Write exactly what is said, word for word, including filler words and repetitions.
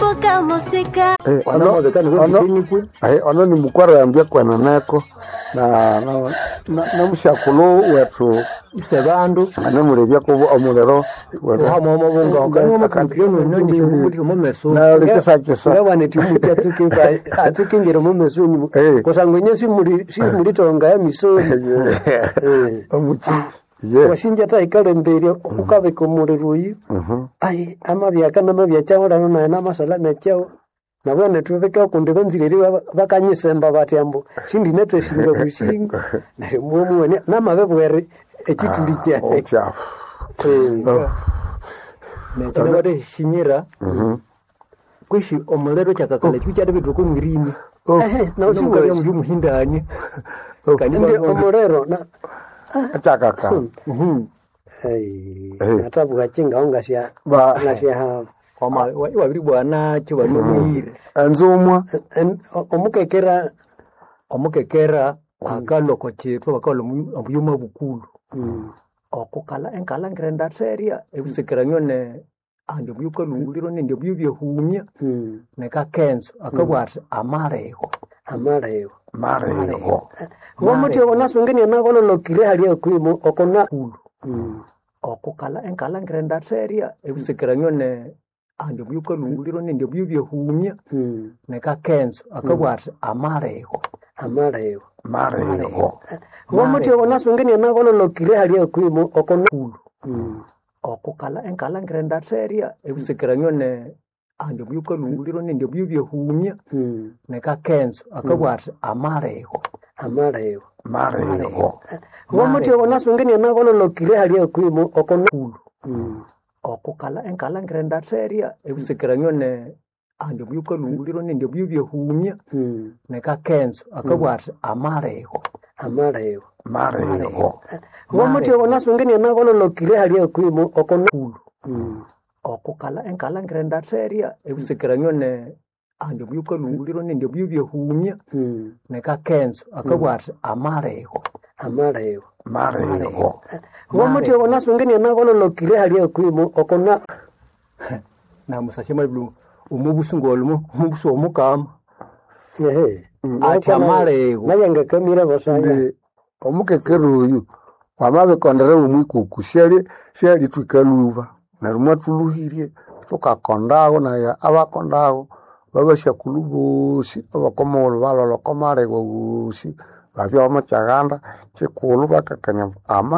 Mukamusika Eh, ono- ono- eh, ono ni mukwarambya kweneneko na na- na- namusyakulu wethu ise bandu anemulebya kubo omuliro nalikisakisa ngawanetimuchi atsukingira mumesoni Eh. kusangwa inye simulitonga ya misoni Eh. omuchi ye washinja taikalemberia ukabika omuliro oyu ai amabyaka namabyakyahulano naye namasala nakyaho nabwana thubika kundi banzire bakanyisemba bathi ambu sindinathasinga busingo neryo mwomuwane namabibwere ekithuli kyaye okyafu Eh. nekinabateshinyira kwishi omuliro kyakakala kibi kyadibithuka omwirimi Ehe, na usiwezi. muli omuhindani Ndi omuliro na kyakaka Ai, Eh. natabugha kingaho ngasya Ba- ngasya wabiri bwanakyo banomuhire enzumwa en- omukekera omukekera akalwa oko kitwa bakalwa omuyo mabukulu okukala enkala ngirendatherya ebisekeranio ne andi omuyo kalunguliro nendi omuyo byehumya mm, nekakenzo akabugha athi amalego amalego marego ngomuthi onasungenia nakololokire hali okwimo okona kulu okukala enkala ngirendatherya ebisekeranio ne andi omuyo kalunguliro nendi omuyo byehumya mm, nekakenzo akabugha athi amalego amalego marego ngomuthi onasungenia nakololokire hali okwimo okona kulu okukala enkala ngirendatherya ebisekeranio ne andi omuyo kalunguliro nendi omuyo byehumya mm, nekakenzo akabugha athi amalego amalego marego ngomuthi onasungenia nakololokire hali okwimo okona kulu okukala enkala ngirendatherya ebisekeranio ne andi omuyo kalunguliro nendi omuyo byehumya mm, nekakenzo akabugha athi amalego amalego marego ngomuthi onasungenia nakololokire hali okwimo okona kulu okukala enkala ngirendatherya ebisekeranio ne andi omuyo kalunguliro nendi omuyo byehumya mm, nekakenzo akabugha athi amalego amalego marego ngomuthi onasungenia nakololokire hali okwimo okona namusasya mabilu omubusu ngolimo omubusu omukama ehe Athi amalego. nayangakamira basaya ndi omukekere oyu wamabikondera omwikuku syali syalitwika luba neryo mwathuluhirye thukakondago naye abakondago babasyakulhu bosi abakomughulhu balholha oko malego wosi babya bamukyaganda kyikulhu bakakania ama